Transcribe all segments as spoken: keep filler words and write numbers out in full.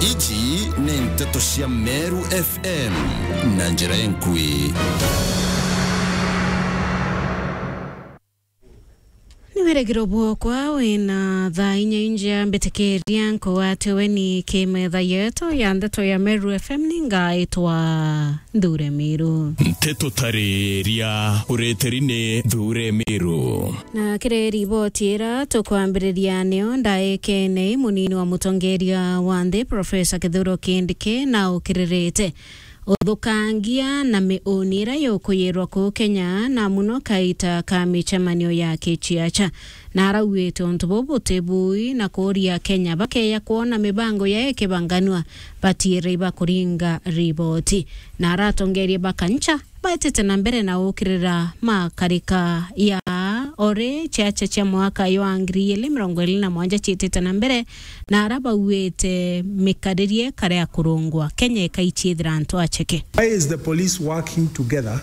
Iji ni nteto cia Meru F M na njira enkui. Ni wirigiro bwokwa wina thaa inya injia mbitikiria nkugwate weni ki metha yetu ya ndeto ya Meru F M, ni ngaitwa Nthure Miru. Nteto tariria ureteri ni Nthure Miru. Na kiri riboti ira tukwambiriria niyo ndaikene munini wa mutongeria wa nthi Professor Kithure Kindiki na ukiririte uthukangia na miuni ira yukuyirwa kuu Kenya, na muno kaita ka micemanio ya kiciaca. Na arauite untu buu buti bui na kuuria Kenya bakeya kwona mibango ya ikibanganua batiire ibakuringa riboti. Na aratongerie bakancha baitite na mbere na ukirira makarika ya ori ciaca cia mwaka jwa ngiri igiri mirongo iri na mwanja ciitite na mbere, na ara bauite mikaririe kare ya kurungwa Kenya ikaichithira antu acheke. Why is the police working together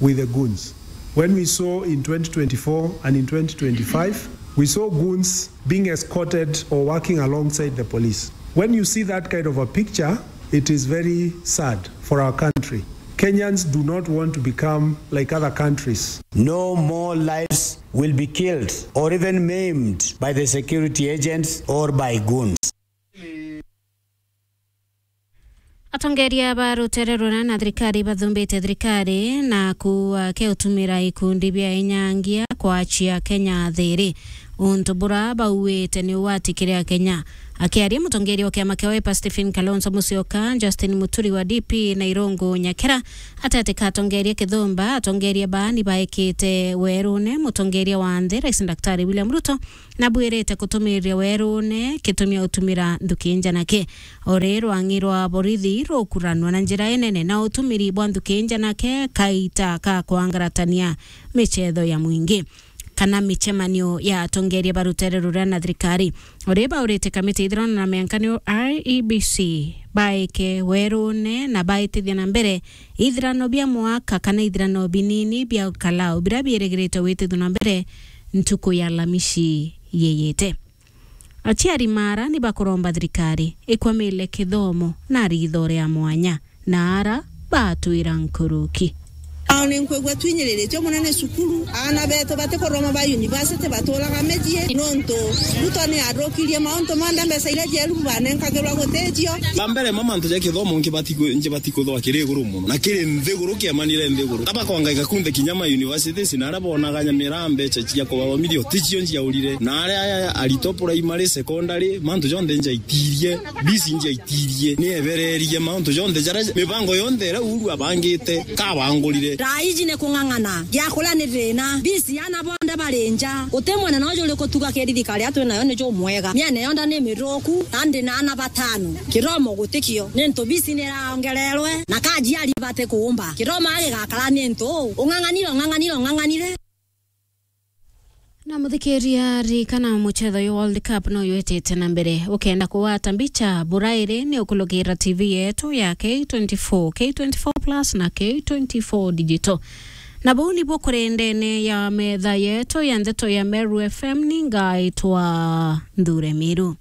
with the goons? When we saw in twenty twenty-four and in twenty twenty-five, we saw goons being escorted or working alongside the police. When you see that kind of a picture, it is very sad for our country. Kenyans do not want to become like other countries. No more lives will be killed or even maimed by the security agents or by goons. Atongeria ba rutere runa na thirikari bathumbite thirikari na kuuga ke utumira ikundi bia inyangia kwachia Kenya thiri, untu bura bauite ni ugwati kiri Akenya. Akiaria, mutongeria wa kiama kia Wiper Stephen Kalonzo Musyoka, Justin Muturi wa D P na Irungu Nyakera, ateti ka atongeria kithumba, atongeria baani baikite werune mutongeria wa nthi Rais Daktari William Ruto, na bwirite kutumiriria werune kitumi utumira nthuki njanake. Ori rwang'i rwa borithi rukuranwa na njira inene na utumiri bwa nthuki njanake kaita ka kwangaratania michetho ya mwingi kana micemanio ya atongeria ba rutere ruria na thirikari. Ori baurite kamiti ithirano na miankanio I E B C baike werune na baitithia na mbere ithirano bia mwaka kana ithirano binini bia kalau biria biirigirite gwitithua na mbere ntuku ya Alhamisi yiyite. Aciari mara ni bakuromba thirikari ikwamile kithomo na ritho ria mwanya na ara batwira nkuruki. Ao ni nkwigua twinyiriritue mono ni cukuru. Aana betu batikuroma ba university baturaga micii nontu Ruto ni athukirie mauntu monthe, mbeca iria cieru banenkagirwa guticio. Ba mbere ma mantu ja kithomo nkibati ku-, nkibati kuthwa kiri iguru mono na kiri nthiguru, kiamanire nthiguru. Aba kwangaika kunthe kinya ma universities na aria bonaga nyamira mbeca cia kubathomithia ticio njiaurire. Na aria aritwa primary, secondary, mantu jonthe njaitirie, bisi njaitirie, ni ebererie mauntu jonthe jaria mibango yonthe iria Uhuru abangite kabangurire. Thaa iji ni kung'ang'ana, gia kuria ni thina, bisi ana bonthe bari nja, guti mwana no juri kutuga kiri thirikari aria twi nayo ni jumwega. Miene yonthe ni mithuku, na ndi na ana batano. Kithomo gutikio, ni ntu bisi ni iraongererwe, na kajiari bati kuumba. Kithomo agigakara ni ntu ung'ang'anire, ung'ang'anire, ung'ang'anire. Na muthikiria, ririkana muchetho uyu World Cup no yetete na mbere. Ukenda kugwata mbicha burairi ni ukulukira T V yetu ya K twenty-four, K twenty-four plus na K twenty-four Digital. Na buu nibu kuri ndene ya metha yetu ya ndeto ya Meru F M, ni ngaitwa Nthure Miru.